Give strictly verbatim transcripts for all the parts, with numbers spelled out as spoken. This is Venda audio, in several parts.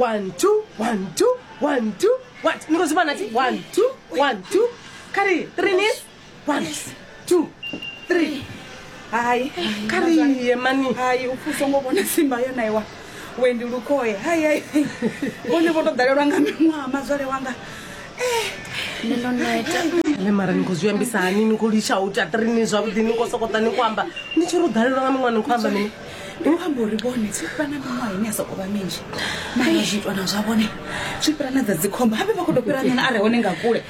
One, two, one, two, one, two, one. Ni khou zwi vhona thi? One, two, one, two. Kha ri three knees. One, two, three. Hai. Kha ri ye mani. Hai, u pfi u songo vhona simba yo naiwa wendi lukhoye. Hai, hai, vhone vho to ḓalelwa nga miṅwaha mazwale wanga. Nṋe ndo neta. Le mara ni khou zwi ambisa hani? Ni khou litsha u ita three knees zwavhuḓi, ni khou sokota ni khou amba ni tshi ri u ḓalelwa nga miṅwaha, ni khou amba mini? Ndi khou amba uri vhone zwi fhira na miṅwaha ine ya sokou vha minzhi, mara zwiitwa na zwa vhone zwi fhira na dza dzikhomba, habe vha khou tou fhira nyana a re hone nga kule.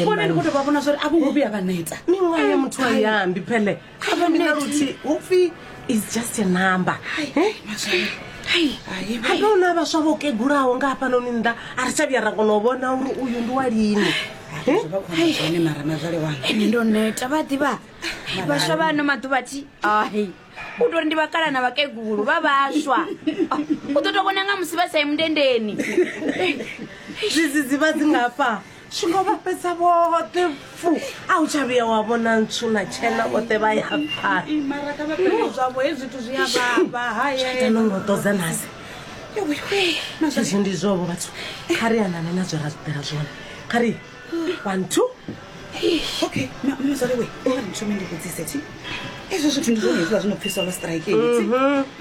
Vhone ndi khou tou vha vhona zwori a vho ngo vhuya vha neta. Miṅwaha ya muthu a i ambi phele, a vha na luthihi hu pfi is just a number. Hai mazwale, Hai. hai. Habe hu na vhaswa vho kegulaho nga hafhanoni nnḓa, a ri tsha vhuya ra kona u vhona uri uyu ndi wa lini. Zwo vha khou amba zwone mara mazwale wanga. Nṋe ndo neta, vha ḓivha vhaswa vha ano maḓuvha thi ai u tori ndi vhakala na vhakegulu vha vhaswa. U ḓo to vhona nga musi vha sa yi mundendeni. Zwidzidzivhadzi ngafha zwi ngo vha fhedza vhoṱhe fu, a u tsha vhuya wa vhona ntswu na tshena, vhoṱhe vha ya pfana. Mara kha vha fhele zwavho, hezwi zwithu zwi a vhavha. Hai. No ngo ṱodza nasi. Hezwi ndi zwovo vhathu, kha ri anane na zwe ra ḓela zwone. Kha ri one, two. Okay, mazwale we, ri thome ndi vhudzise thi, ezwo zwithu ndi zwone hezwiḽa zwi no pfi solo strike hedzi?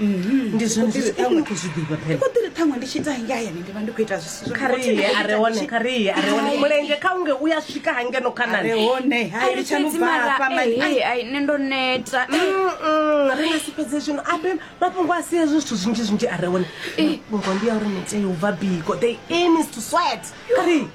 Ndi zwone zwithu ni khou zwi ḓivha phela. Ndi ḓiri ṱhaṅwe ndi tshi ita hangei hayani ndi vha ndi khou ita zwi si zwone. Kha ri ye a re hone, kha ri ye a re hone, mulenzhe kha unge u ya swika hangeno khanani. Re hone, hai, Ari litshani u fhedzi bva mara hafha mani. eh, ai nṋe ndo neta. Mm, ri nga si fhedze zwino, abe mafhungo a si hezwo zwithu zwinzhi zwinzhi a re hone. Mafhungo ndi ya uri ni tea u bva biko, the aim is to sweat. Kha ri.